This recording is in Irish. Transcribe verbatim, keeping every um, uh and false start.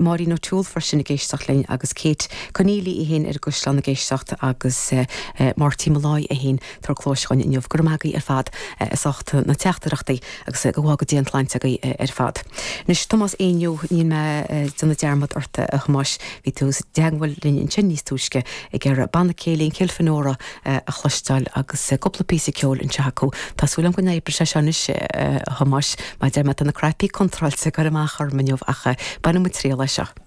Máirín O'Toole freisin ag éisteacht linn agus Kate Conneely í féin ar an gCaisleán ag éisteacht agus Marty Molloy é féin ag tabhairt cluais dhúinn inniu. Go raibh maith agaibh ar fad as ucht na teachtaireachtaí agus go bhfága Dia an tsláinte agaibh ar fad. Anois Tomás Éinniú níl mé ag déanamh dearmad ort a Thomáis, bhí tú i dteagmháil linn ansin níos túisce ag iarraidh Banna Céilí Kilfenora a chloisteáil agus cúpla píosa ceoil anseo acu. Tá súil agam go n-oibreoidh sé seo anois a Thomáis, mar deir mé tá na cnaipí contráilte ag cur amach orm inniu ach bainfidh muid triail as seo.